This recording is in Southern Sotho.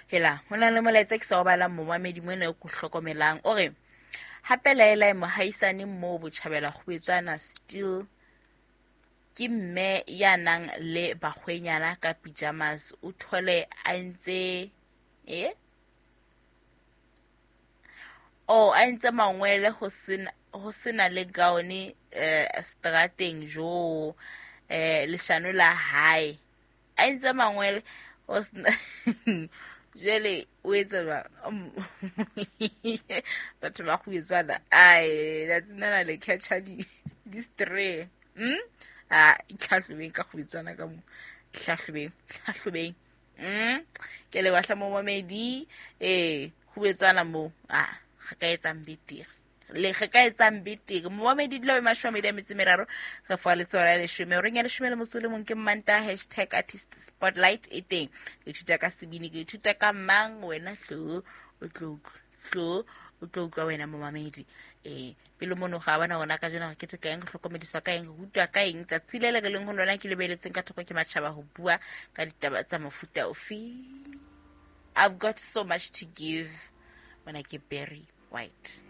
Hela, ho na le molaetsa ke sa o balang momamedi mona o ko hlokomelang. O re, hape laelae mohaisane moo botjhabela kgubetswana still ke mme ya nang le bakgwenyana ka pyjamas, o thole a ntse e oh a ntse mangwele ho sena le gown strateng jo leshano la hae a ntse mangwele ho sena jwale o etsa jwang? Batho ba kgubetswana ai tsatsing lena le catcha di stray. A itlhahlobeng ka kgubetswana ka mo, hlahlobeng hlahlobeng. Ke le batla mo mamedi kgubetswana mo a re ka etsang betere le re ka etsang betere. Momamedi dilo be 23 re fa letshwao la 10 horeng ya 11 ke Manta hashtag artist spotlight e teng. Ke ithuta ka sebini, ke ithuta ka mang wena, tlo o tlo tlo o tlo utlwa wena momamedi. Pele mono ga bona rona ka jeno re kete ka eng, re hlokomediswa ka eng, re rutwa ka eng tsatsi le le re leng ho lona ke lebeletsweng ka thoko ke matjhaba ho bua ka ditaba tsa mofuta ofe. I've got so much to give. Mona ke Barry White.